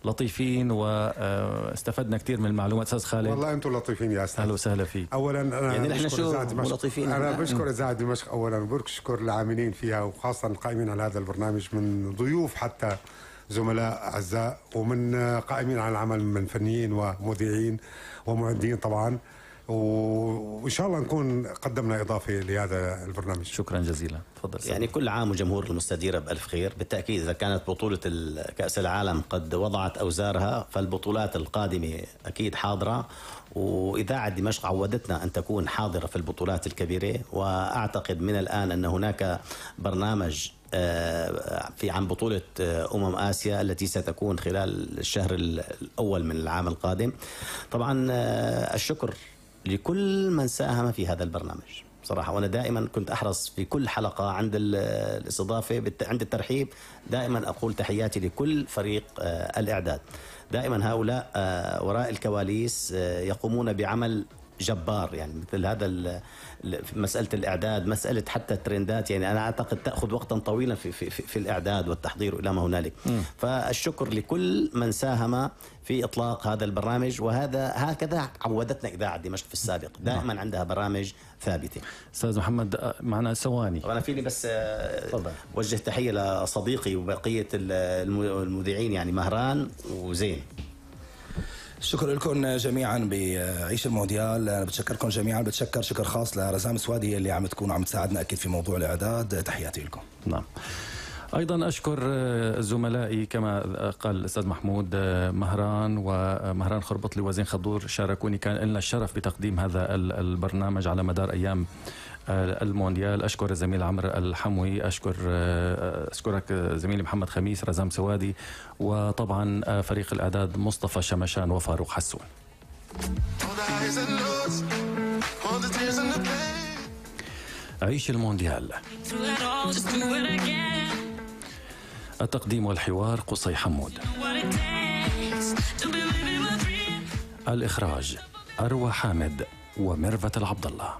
لطيفين واستفدنا كتير من المعلومات. أستاذ خالد والله أنتم لطيفين يا أستاذ. أهلا وسهلا فيك. أولا أنا يعني نحن شو لطيفين. أنا بشكر إذاعة دمشق أولا، وبشكر العاملين فيها وخاصة القائمين على هذا البرنامج من ضيوف حتى زملاء أعزاء، ومن قائمين على العمل من فنيين ومذيعين ومعدين طبعا، وإن شاء الله نكون قدمنا إضافة لهذا البرنامج. شكرا جزيلا. تفضل. يعني كل عام وجمهور المستديرة بألف خير. بالتأكيد إذا كانت بطولة كأس العالم قد وضعت أوزارها، فالبطولات القادمة أكيد حاضرة، وإذاعة دمشق عودتنا أن تكون حاضرة في البطولات الكبيرة. وأعتقد من الآن أن هناك برنامج في عن بطولة آسيا التي ستكون خلال الشهر الأول من العام القادم. طبعا الشكر لكل من ساهم في هذا البرنامج صراحة، وأنا دائما كنت أحرص في كل حلقة عند الاستضافة عند الترحيب دائما أقول تحياتي لكل فريق الإعداد. دائما هؤلاء وراء الكواليس يقومون بعمل جبار، يعني مثل هذا مسألة الإعداد، مسألة حتى الترندات، يعني أنا أعتقد تأخذ وقتا طويلا في الإعداد والتحضير إلى ما هنالك. فالشكر لكل من ساهم في إطلاق هذا البرنامج، هكذا عودتنا إذاعة دمشق في السابق، دائما عندها برامج ثابتة. أستاذ محمد معنا ثواني، وأنا فيني بس وجه تحية لصديقي وبقية المذيعين، يعني مهران وزين. شكرا لكم جميعا بعيش المونديال. أنا بتشكركم جميعا، بتشكر شكر خاص لرزام سوادي اللي عم تكون عم تساعدنا أكيد في موضوع الإعداد. تحياتي لكم. نعم. أيضا أشكر زملائي كما قال الأستاذ محمود، مهران خربطلي وزين خضور شاركوني، كان لنا الشرف بتقديم هذا البرنامج على مدار أيام المونديال. أشكر الزميل عمرو الحموي، أشكرك زميلي محمد خميس، رزام سوادي، وطبعا فريق الإعداد مصطفى شمشان وفاروق حسون. عيش المونديال. التقديم والحوار قصي حمود. الإخراج أروى حامد وميرفت العبد الله.